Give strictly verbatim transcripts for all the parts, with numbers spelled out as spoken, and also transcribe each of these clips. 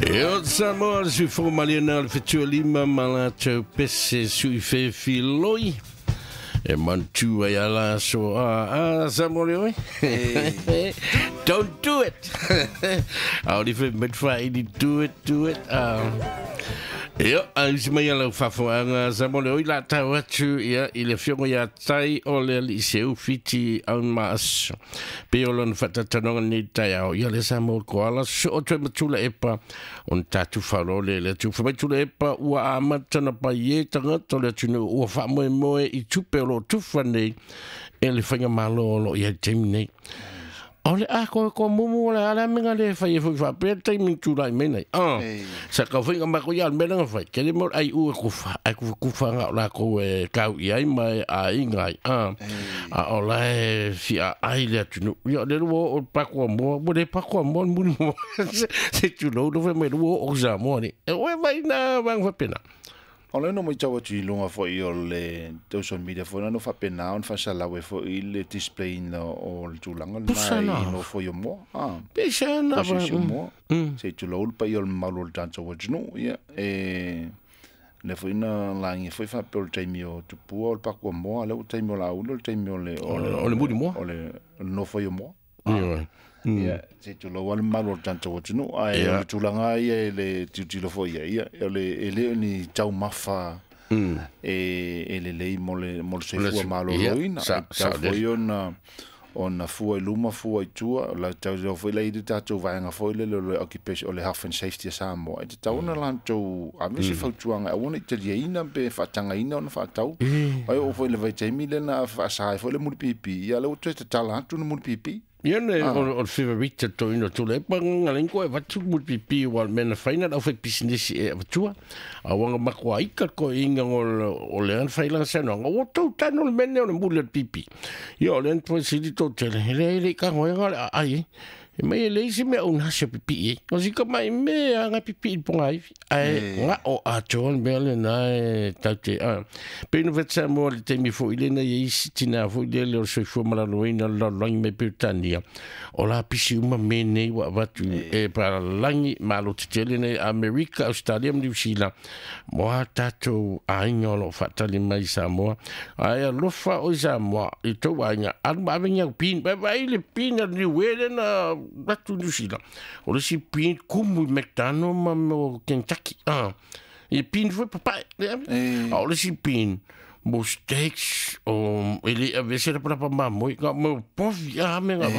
E o Samoa le suifo maliana le fetua lima malatou pese sui fefiloi. E mantu ai ala so a a Samoa le oi. Don't do it. Au li fe metfa i do it, do it. Ia, a usi mai ala fafoanga Samoa le oi la tau atu ia i le fiongo ia tai o le liceu fiti au maas. Pe o lona whatatanonga nei tai au. Ia le Samoa ko ala so o toe matula epa on tatu wharo le le tu whamai tula epa ua amata na pai e tangata le tunu ua whamoe moe i tupe o lo tufa nei e le whainga malo o lo ia taimi nei. O le a ko ko mumu le ala menga le fai foi fa pe taimi tulai me nei. Ah. Sa ka whainga mako ia me nga fai. Ke le mo ai u ku fa ai ku ku fa nga la ko e kau i ai mai a ingai. Ah. A o la e fi a ai le tunu. Ia le ro o pa ko mo mo le pa ko mo mo mo. Se tu lo lo me ro o za mo ni. E o vai na vang fa pena. O le no mai tau atu i lunga foi o le social media foi na no faapena ona faasalau ai foi le display ina o le tulaga lena i nofo i o moa. Ah. Pisa na va. O moa. Se tulou le paia o le mamalu o le tatou atunuu ia e le foi na lagi foi faapea o le taimi o tupua o le pakua moa lea ua taimi o lauli o le taimi o le o le muli moa. O le nofo i o moa. Ia se tulou a le mamalu o le tatou atunuu ae o le tulaga ia e le tilotilo foi ia ia o le e le o ni taumafa e e lelei mo le mo le soifua malōlōina e tatau foi ona ona fua i luma fua i tua la tau foi la i le tatou vaega foi lele o le occupation o le health and safety a Samoa e tatau ona latou ave se fautuaga aua ne i taliaina pe faatagaina ona faatau ai oo foi le vaitaimi lena faasa ai foi le mulipipi ia lea ua toe tatala atu le mulipipi. Ia ne o le favorite to ino tule pa ngalen ko e vatu mulipipi wa mena faina au fai business e vatua a wanga makwa ika ko inga o o le an faila sa no o to tanu le mene o le mulipipi ia o le an sili to tele hele hele ka ngoe le ai e mai le isi me una se pipi e o si ka mai me a nga pipi ponga ai ai nga o a ton bele na e tate a pe no vetsa mo le temi fo ile na isi tina fo ile le so fo mala lo ina la langi me petania o la pisi uma me nei wa vatu e para langi malo tele nei America Australia New Zealand mo tato ainga lo fatali mai Samoa ai alofa o Samoa i to ainga alu ma venga pin ba vai le pin ni wele na batu New Zealand. O le si pin kumu McDonald ma mo Kentucky. Ah. E pin foi papai. O le si pin mo steaks o ele a vese la para pa mo ka mo povi a me nga.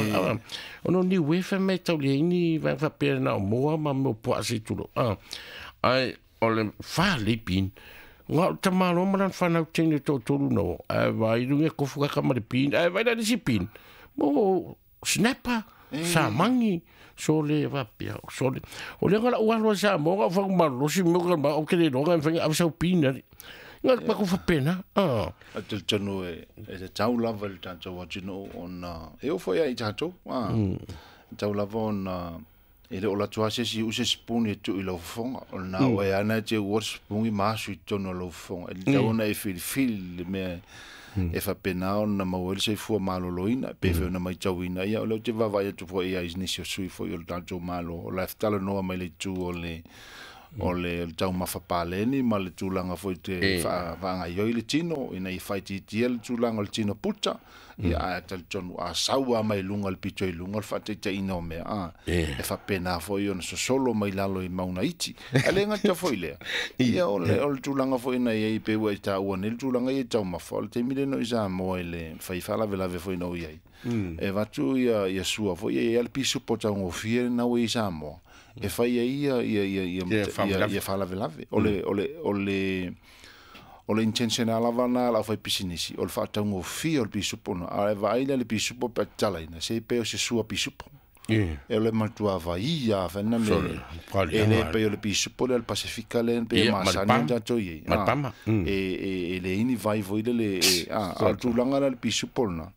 O no ni wefa me tau le ni va fa pe na mo ma mo po asi tulo. Ah. Ai o le fa le pin. Nga tamalo ma fa na tene to tolu no. Ai vai lunge ko fuka ka ma le pin. Ai vai la si pin. Mo snapper sa mangi so le va pia so le o le ngala wa lo sa mo ga fa ma lo si mo ga ma o ke le lo ga fa a sa pina nga pa ko fa pena ah a te tonu e e tau lava le tatou atunuu ona e o foi ai tatou ah tau lava ona e le o la tua se si u se spuni tu i lau fofoga o na o e ana te ua spuni ma asu i tonu o lau fofoga e tau ona e filifili le mea e faapena ona maua ai le soifua malōlōina pe fe ona maitauina ia o lea ou te vaavaai atu foi ia i nisi o sui foi o le tatou malo o la talanoa mai le itu o le o le taumafa paleni ma le tulaga foi te faagaioi le tino ina ia faitiitia le tulaga o le tino puta ia ae talitonu a sau a mai luga le pito i luga o le faataitaiina o mea a e faapena foi ona sosolo mai lalo i mauna iti ae le gata foi lea ia o le o le tulaga foi na iai pe ua i taua nei le tulaga ia i taumafa o le taimi lena i Samoa i le fai faalavelave foi na o iai e vatu ia ia sua foi ia ia le pisupo taugofie lena ua i Samoa e fai ai ia ia ia ia ia faalavelave o le o le o le o le intention lava na la fai pisinisi o le faataugofie o le pisupo na ae vaai lea le pisupo pe tatalaina se pe o se sua pisupo e o le matua vai ia fana me e le pe o le pisupo le Pasifika le pe masani o tatou iai e e le ini vai foi le le a o le tulaga la le pisupo lena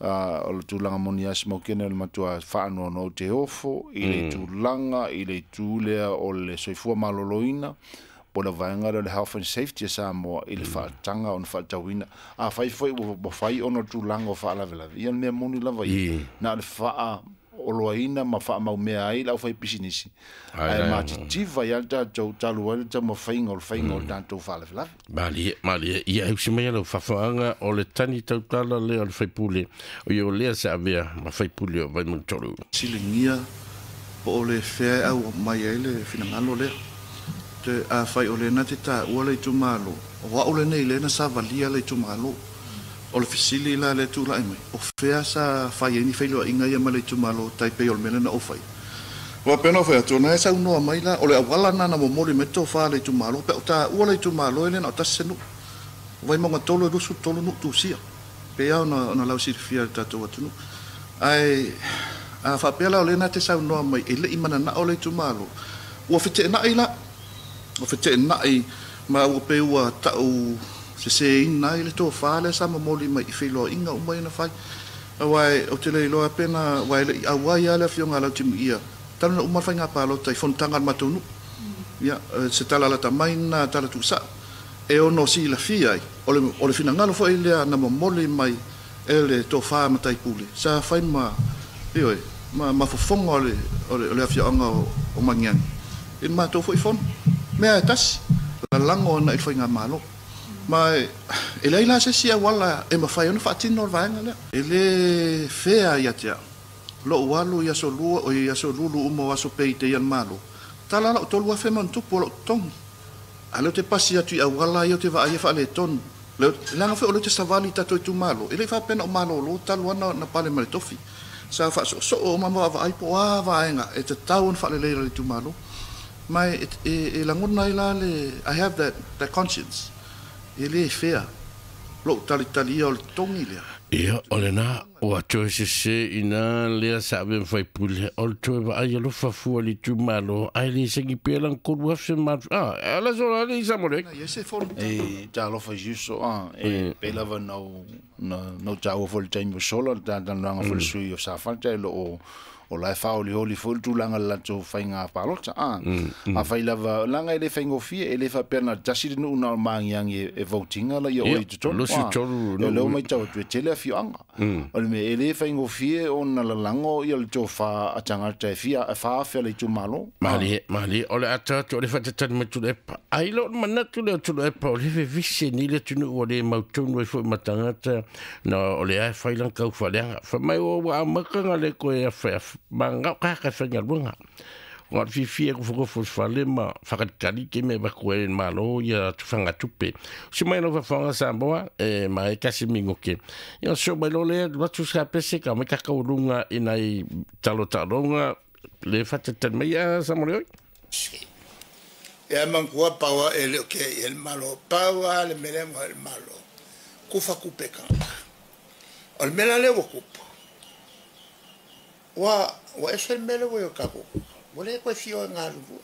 o le tulaga moni a smokene o le matua faanoanoa o te ofo i le tulaga i le itu lea o le soifua malōlōina po le vaega lea o le health and safety a Samoa i le faataga ona faatauina a fai foi ua fai ona o tulaga o faalavelave ia le mea moni lava ia na o le faa o oloaina ma faamaumea ai le aufaipisinisi ae matitiva ai a le tatou talu ai le taumafaiga o le faiga o le tatou faalavelave. Malie, malie, ia e usi mai lau faafaaga o le tani tautala lea o le faipule o ia o lea se avea ma faipule o Vaimauga tolu. Siligia po o le fea au mai ai le finagalo lea. Te a fai o lena te tāua le itumalo. O au lenei lena sa valia le itumalo. O le fesili la le tūlai mai. O fea sa fai ai ni feiloaiga ia ma le itumalo tai pei o le mea lena o fai. Ua pena o fai atu, na e saunoa mai la, o le auala na na momoli mai tofā le itumalo, pe o tāua le itumalo e lena o tasi se nuu. O Vaimauga tolu e lusu tolu nuu tusia. Pe au na, na lau silafia le tātou atunuu. Ae, a faapea la o lena te saunoa mai, e lei mananao le itumalo. Ua feteenai la, ua feteenai ma ua pe ua tau seseina ai le tofā lea sa momoli mai i feiloaiga uma ia na fai. Auae o te le iloa pe na uae le'i auai a le afioga a Lautimuia talu na uma le faiga palota i fonotaga a le matou nuu. Ia se tala lata mai na tala tuusa'a e ono silafia ai o le, o le finagalo foi lea na momoli mai e le tofā mataipule sa fai ma ioe ma, ma fofoga o le, o le, o le afioaga o, o Magiagi i le matou foi fono mea e tasi lalago ona i le faigamalo. Ma e leai la se isi auala e mafai ona faatino o le vaega lea. E lē fea ia te au lo'u alu i aso lua o i aso lulu uma o aso pei te ia le malo. Tala la'u tolu afe ma ona tupu o lo'u totogi. A leo te pasi atu i auala ia o te vaai e faaletonu. Leaga foi o leo te savali i tatou itumalo. E le'i faapena o malōlō talu ana na pale ma le tofi. Sa faasoosoo uma ma vaavaai po o a vaega e tatau ona faalelei le itumalo. Ma e, e, e lagona ai la le I have that, that conscience. E lē fea lo'u talitalia o le totogi lea. Ia, o lena, ua toe sese ina lea sa ave faipule, o le toe vaai alofa fua le itumalo, ae le segi pea lana tolu afe ma... Ah, ala sola le isa mo le. Ia se fono. E talofa i uso, ah, e pei lava nau, nau tāua foi le taimi o sola, le tātanoaga foi le sui o Safata, e loo o la e whaoli foi le tulaga le latou faiga palota a a fai lava langa e le faigofie e le faapea na tasi le nuu na o magiagi e votinga la ia oi totonu e leo mai tau atu e tele afioaga o le mea e le faigofie ona lalago ia le tofā a tagata e fia e faaafe le itumalo. Malie, malie, o le ata atu o le whatatani mai tulu epa. Ai lo manatu le o tulu epa o le vevise ni le tunu o le mautonu e fo matangata na o le ae whailang kau whaleanga. Wha mai o wa amakanga le koe a whai manga ka ka whainga lunga. Ngā whiwhi e kufukufu whale ma whakatali ke me waku e malo ia tuwhanga tupe. Si mai no whawhanga Samoa e ma e kasi mingo ke. Ia so mai lo lea watu sa pese ka mai kakau lunga ina i talo talonga le whatatani mai a Samoa oi. Ia mangua paua e leo ke i el malo. Paua le mele mo el malo. Kufa kupe kanga. O le mele le ua kupu. Ua, ua ese le mele ua i o kako. Ua le koe fio e ngā lulu.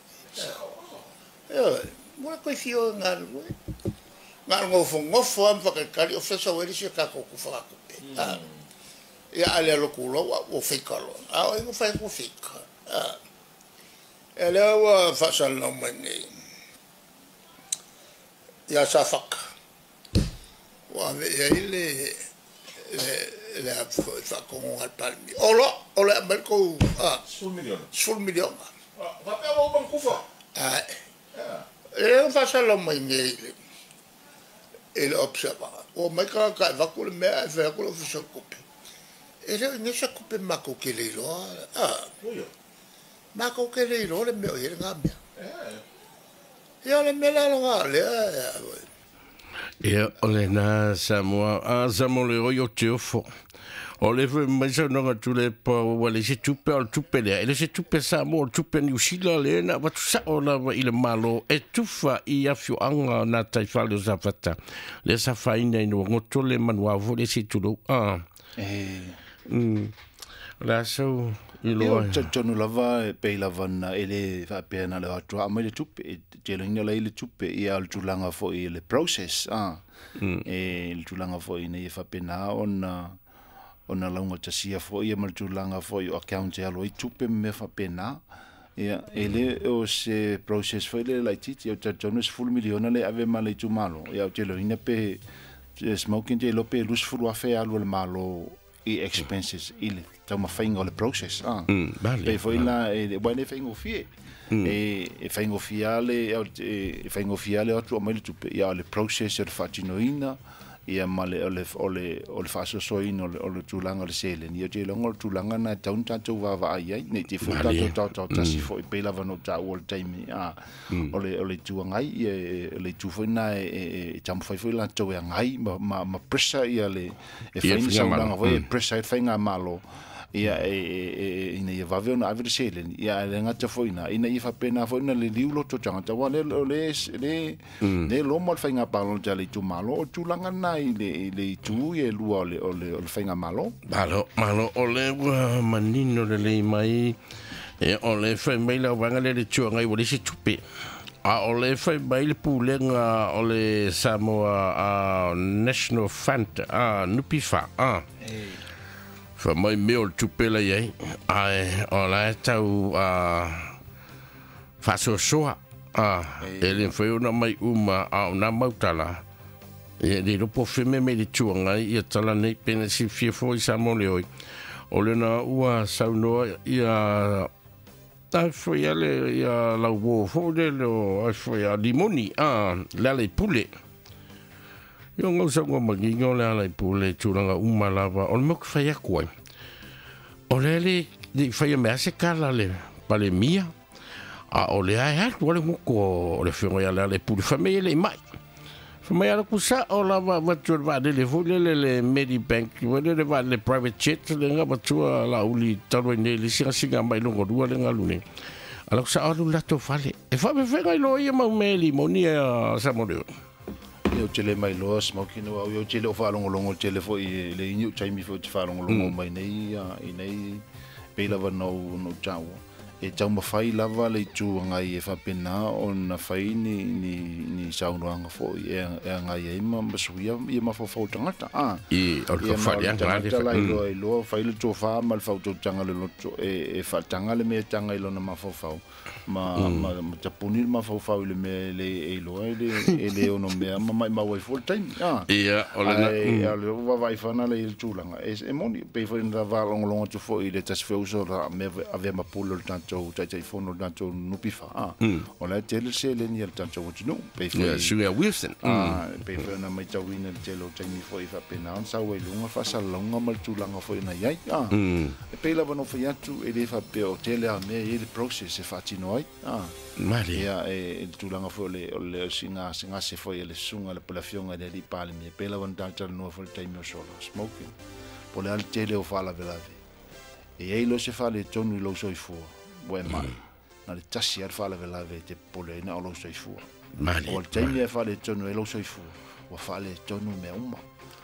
Ua le koe fio e ngā lulu. Ngā ngofo ngofo am whakakari o whesa weri se kako kufa kakupe. Ia ale alo kula ua ua whika loa. A o ingo whai ku whika. E lea ua whasalau mai nei. Ia sa whaka. Ua ave ia i le le le whakongo al palmi. Olo, olo a mai kou Sefulu miliona. Sefulu miliona. Whapea wau mang kufa. Ai. E o whasalau mai nei le e le observa. O mai ka ka vaku le mea e whea kula ofisa kupe. E leo inge sa kupe mako ke le iloa. Ah. Mako ke le iloa le mea o hele ngā mea. Ia le mea la ngā lea. Ia o le nā Samoa, a Samoa le oi o te ofo. O le fwe mai sa nonga tule pa ua le se tupe o le tupe lea. E le se tupe Samoa o le tupe Niu Sila le na watu sa o lava i le malo e tufa i afioaga nā taifale o Safata. Le sa whaina ina ngoto le manuavo le se tulou. Ah. E... Mm. La sau i Ia loa. o tonu lava e pei lava na e le whaapea na le atua a mai le tupe e te lenga lai le tupe ia o le tulaga foi le process ah. E le tulaga foi nei e whaapena ona ona launga tasia foi ia ma le tulaga foi o account e alo i tupe me whaapena. Ia e le o se process foi le laititi o tonu sefulu miliona le ave ma le itumalo. Ia o te loina pe smoking te lope lusefulu afe alu le malo i expenses i le taumafaiga o le process a pe foi la e ua le faigofie e e faigofie le e faigofie le atu mai le tupe ia o le process o le faatinoina ia ma le o le o le o le faasoasoaina o le o le tulaga o le seleni ia te iloga o le tulaga na e tatau ona tatou vaavaai ai nei te foi tatou taotaotasi foi pei lava ona ou taua o le taimi a o le o le itu agai ia o le itu foi na e e taumafai foi latou e agai ma ma ma pressure ia le e fai ni saunoaga foi e pressure ai le faigamalo ia e e ina ia vave ona ave le seleni ia e le gata foi ina ina ia faapena foi na liliu loto tagata ua le le le le loma o le faigapalota a le itumalo o tulaga na i le i le itu ia e lua o le o le o le faigamalo. Malo malo o le ua manino lelei mai e o le fai mai lau vaega lea le tuagai ua leai se tupe a o le fai mai le pulega o le Samoa National Fund a Nupifa a fa mai mea o le tupe la iai ae o la e tau faasoasoa a e le mafai ona mai uma a o nā mautala e le iloa po o feme mai le tuagai ia tala nei pena silafia foi sa mo le oi o lena ua saunoa ia ai foi ale ia lau uō foi lele o ai foi a limoni a le ala i pule Ia ngau sa ngā manginga o le ala i pule tulaga uma lava o le mea o ke whai aku ai. O le le le whai a mea se kala le pale mia a o le ae atu ale ngoko o le whionga ia le ala i pule whamei ele i mai. Whamei ala kusa o lava watu le vaalele foi le le le Medibank le le vaalele private jet le ngā matua la uli talu ai nei le singa singa mai longo lua le ngalu nei. Ala kusa alu lato fale. E whawewhenga i loa ia mau meli moni a sa mo leo. Ia o tele mai loa smoking au ia o tele o faalogologo tele foi le ini o taimi foi te faalogologo mai nei i nei pei lava na ou na ou taua e taumafai lava le itu agai e faapena ona fai ni ni ni saunoaga foi e e agai ai ma ma suia ia mafaufau tagata a i o le fafaliaga tagata la iloa iloa fai le tofā ma le fautotaga le loto e e faataga le mea taga i lona mafaufau ma ma ma tapuni le mafaufau i le mea le e iloa e le e le ono mea ma maimau ai foi le taimi a ia o lena ae o le vaavaai fana le i le tulaga e e moni pei foi na faalogologo atu foi i le tasi feuso la mea avea ma pule o le tatou taitaifono o le tatou Nupifa a o la e tele seleni a le tatou atunuu pei foi Suia Wilson a pei foi ona maitauina le tele o taimi foi faapena ona sau ai luga faasalalauga ma le tulaga foi na iai a e pei lava ona fai atu e le faapea o tele a mea e i le process e faatino ai a mali ia e le tulaga foi o le o le sigasigase foi e le susuga le po le afioga i le alii Palemia pei lava ona talatalanoa foi le taimi o sola smoking po le a le tele o faalavelave e iai loa se faaletonu i lou soifua ua e mai na le tasi a le faalavelave e te popole ai na o lou soifua mali o le taimi e faaletonu ai lou soifua ua faaletonu mea uma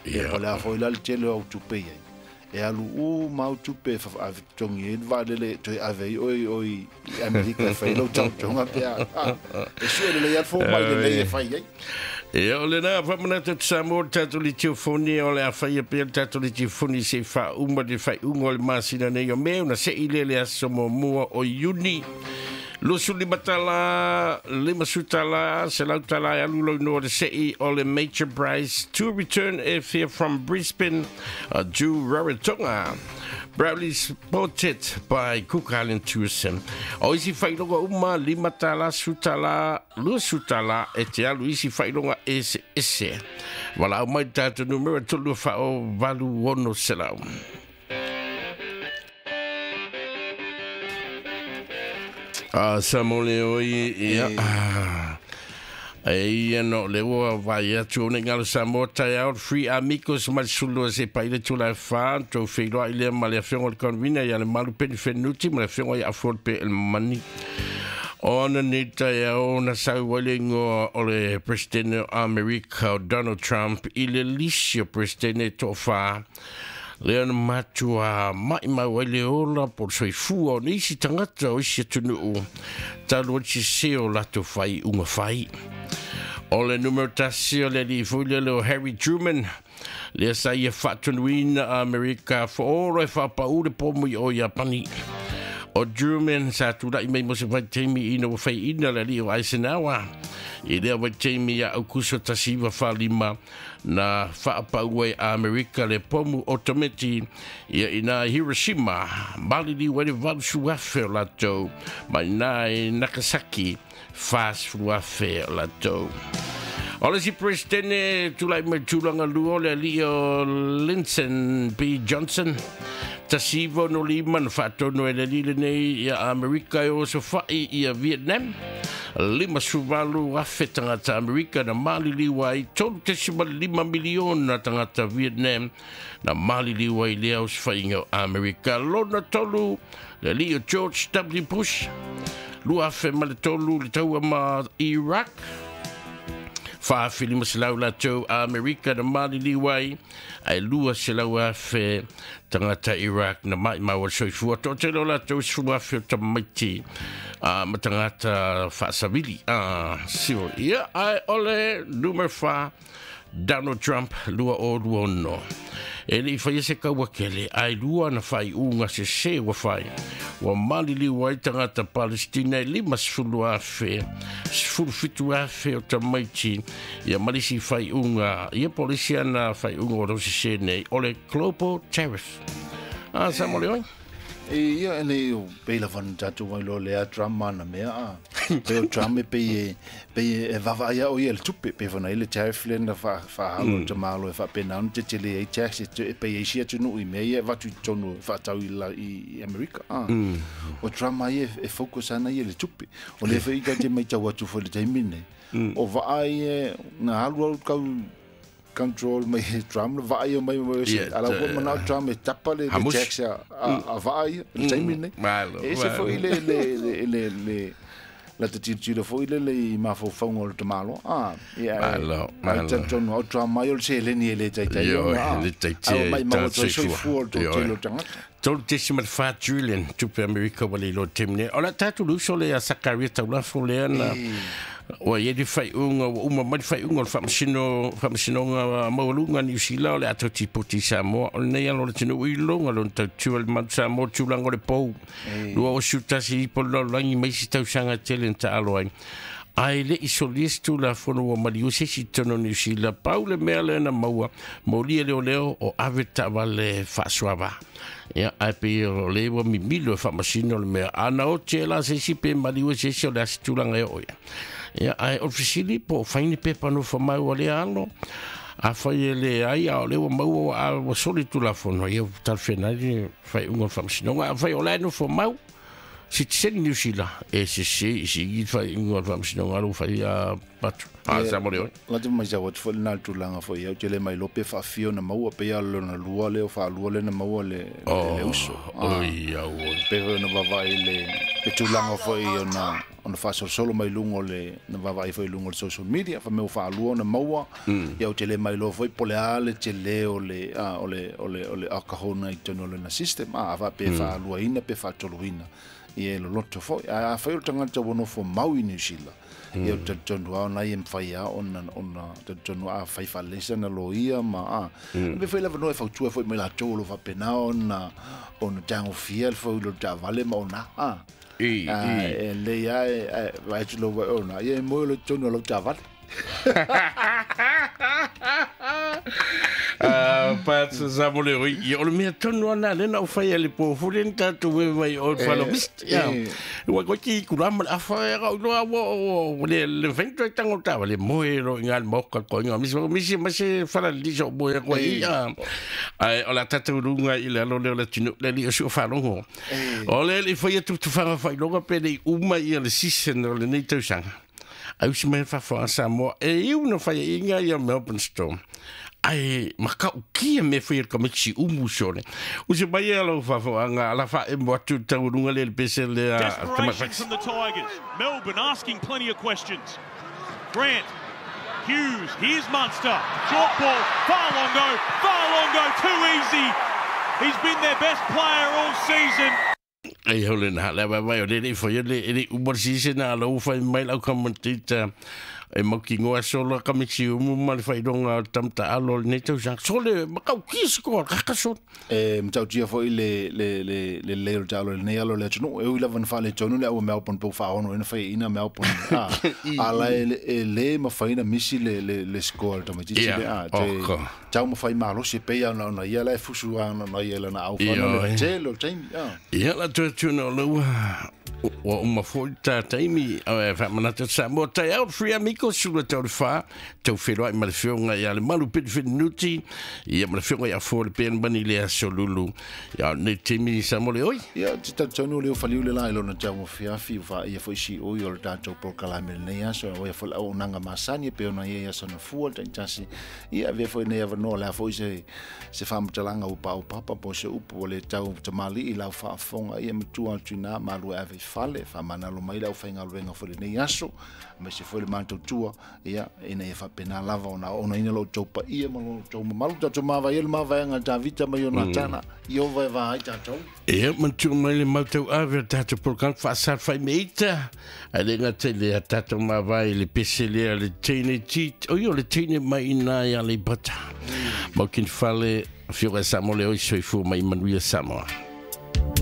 ia po le a foi la le tele o au tupe iai e alu uma au tupe e totogi ai le vaalele toe ave ai oe oi i Amerika e fai lou taotoga pe a e sue lelei a le fomai lelei e fai ai. Ia o lena faamanatu atu Samoa le tatou litiofoni o le a faia pea le tatou litiofoni se i faauma le faaiuga o le masina nei o Me ona se'i lea le aso muamua o Iuni. Lusu lima tala, lima su tala, selau tala e alu lau noa le se'i o le Major Prize to return airfare from Brisbane uh, to Rarotonga. Proudly supported by Cook Island Tourism. O isi whailoga uma, lima tala, su tala, lua su tala, e te alu isi whailoga ese ese. Wala au mai tātou numera tolu whao valu ono selau. Ah, sa mo le oi, ia, ah. E ia no le ua vai atu o nei ngalo Samoa tai ao Free Amigos ma le sulua se pai le tula e wha tau wheiloa i lea ma le afioga o le convina ia le malu peni whenuti ma le afioga i afu o le pe el mani. O ana nei tai ao na sau ai le ingoa o le Presidente o Amerika o Donald Trump i le lisi o Presidente to'awhā lea na matua mai mau ai le ola po le soifua o nisi tagata o isi atunuu talu ai sese o latou fai uga fai. O le numero tasi o le alii foi lele o Harry Truman lea sa ia faatonuina a Amerika foolo e faapaʻu le pomo i o Iapani. O Truman sa tula'i mai mo se vaitaimi ina ua fai'ina le ali'i o Eisenhower i lea vaitaimi ia Aukuso tasi iva falima na fa'apau ai Amerika le pomu otometi ia ina Hiroshima maliliu ai le valusu afe o latou ma ina i Nagasaki fasefulu afe o latou. O le si presidente tula'i mai tulaga lua o le ali'i o Lyndon B. Johnson tasi iva ono lima na fa'atonu ai le ali'i lenei ia Amerika e o sofa'i ia Vietnam lima suvalu afe tagata Amerika na maliliu ai tolu tesima lima miliona tagata Vietnam na maliliu ai lea osofaiga o Amerika. Lona tolu le ali'i o George W. Bush lua afe ma le tolu le taua ma Iraq fa'afilima selau latou Amerika na maliliu ai ae lua selau afe tagata Iraq na ma'imau o le soifua to'atele o latou sefulu afe o tamaiti ma tagata fa'asavili sio ia ae o le numero fa Donald Trump lua o lua ono e le'i faia se kaua kele ae lua na fa'ai'uga sesē ua fai ua maliliu ai tagata Palestina e lima sefulu afe sefulu fitu afe o tamaiti ia ma lisi fa'ai'uga ia polisi ana fa'ai'uga o loo sesē nei o le global tariff a sa mo le oi. E ia e o pei lava na tatou ai loa lea Trump ma na mea a pe o Trump e pei e pei e vavaai o ia le tupe pe fana i le tariff le na fa fahalo mm. tamalo e faapena ona tetele ai tax e pei e isi atunuu i mea ia e vatu i totonu e faatau i, la, i Amerika a mm. O Trump ai e, e focus ana ia le tupe o le fai ka te mai tau atu foi le taimi nei mm. O vaai e na alu alu kau control mai Trump le vaai mai mai ala ko mana Trump e tapa le tax a a vaai le taimi nei e se foi le le le le la te tiro foi le le mafaufauga o le tamalo a ia ai tantonu o Trump mai o le seleni e le taitai le taitai mai mau o soifua o le tele o tagata tolu tesima le fa trillion tupe Amerika ua le iloa taimi nei o le a tatou luso le a Sakaria Taulafo lea na ua ia le fai'uga ua uma mai le fai'uga o le fa'amasino fa'amasinoga maualuga Niu Sila o le ato tipoti Samoa o lenei alo o le atunuu i luga lona tautua le malu Samoa tulaga o le pou lua osu tasi ipo le lalolagi ma isi tausaga tele na ta'alo ai ae le'i solia se tulafono ua maliu se isi totonu o Niu Sila pau le mea lea na maua molia leoleo o ave ta'avale fa'asoava ia ae pei o le ua mimilo e fa'amasino le mea ana oti e la se isi pe maliu e se isi o le asi tulaga e oo ia ia ae o le fesili po o faini pepa nofo mau a lea alo a fai e le ai a o le ua maua a ua soli tulafono ia talafeanai le fai'uga o le fa'amasinoga a fai o la e nofo mau sitiseni Niu Sila e sese i sigi fai'uga o le fa'amasinoga alo fai a patu a sa mo le oi la te mai sa watu foi na tulaga foi au tele mai lope fa'afio na maua pe ia lona lua leo fa'alua le na maua le le uso oi au pe na vavaai le le tulaga foi ona ona faasolosolo mai luga o le na vaavaai foi luga o le social media fa mea faalua ona maua ia o tele mai loa foi po le a le tele o le a o le o le o le alcohol na i totonu o lona system a faapea faaluaina pe faatoluina ia e loloto foi a afai o le tagata ua nofo mau i Niu Sila ia o talitonu a ona ia mafai a ona ona talitonu a fai faalesa na loia ma a pe foi lava noa e fautua foi mai latou o lo faapena ona ona tagofia le foi lo taavale ma ona a i e lei a e vai atu lau ona ia e moe lo totonu o lau taavale. Patsa sa mo le oi ia o le mea tonu ana le na o fai ale po fule ni tatou e vai o falo mist ia ua ko ki kura ma afa e ga lo o le le vento tango ta le moe ro ngal mo ko ko ngal mis mis mas fala li so moe ko ia ai o la tatou lunga i le lo le le tinu le li o fa longo o le le fai tu tu fa fa longo pe le uma ia le season o le nei tausaga ai usi mai fa Samoa e iu no fai inga ia Melbourne Storm ai makau kia me fai ka mexi umu sone usi mai alo fa fa anga la fa e mo tu tau lunga le pese le Desperation from the Tigers. Melbourne asking plenty of questions. Grant, Hughes, here's Munster. Short ball, Farlongo, Farlongo, too easy. He's been their best player all season. Ai hole na la vai o le le foi le le umu sise na lo fai mai lau commentator E mauki ngoa sola kamiti umu ma le faailoga o le tamataaalo o lenei tausaga sole makaukia se koa kakasola. E matautia foʻi le le le le lelei o le taalo i lenei alo o le atunuu e ui lava na faaletonu le au Melbourne pou faaono ina faiaina Melbourne a a la e lē mafaina misi le le le score le tamaititi le a te taumafai malosi e pei ona ona ia la e fusu ana ona ia lana aufana le tele o taimi a. Ia la toe tuna o laua ua uma foʻi ta taimi faamanatu Samoa taeao Free Amigos sula tau le fa tau feloai ma le fioga ia le malu pete ia ma le fioga ia fo le pen mani le aso lulu ia nei taimi Samoa le oi. Ia te talitonu le ofaliu le la i lona taumafiafi ua faia foʻi siʻui o le tatou polokalame lenei aso o ia foʻi le auaunaga masani e pei ona ia ia sana fua le taitasi. Ia avea foʻi nei avanoa le a foʻi se se faamatalaga ua paopapa po se upu ua le tau tamalii lau faafofoga ia matua atu inā malu e ave i fale faamanalo mai le aufaigaluega foi lenei aso ma se foi le matautua ia ina ia faapena lava ona onaina lou tou paia ma lou tou mamalu tatou mavaia le mavaega Tavita ma Ionatana i ova e va ai tatou. Ia matua mai le mautau ave o tatou polokalame faasalafai meita ae le gata i le tatou mavae le pese lea le teine ti oi o le teine mai ina ia Aleipata maukini fale fioga Samoa le oi soifua mai manuia Samoa.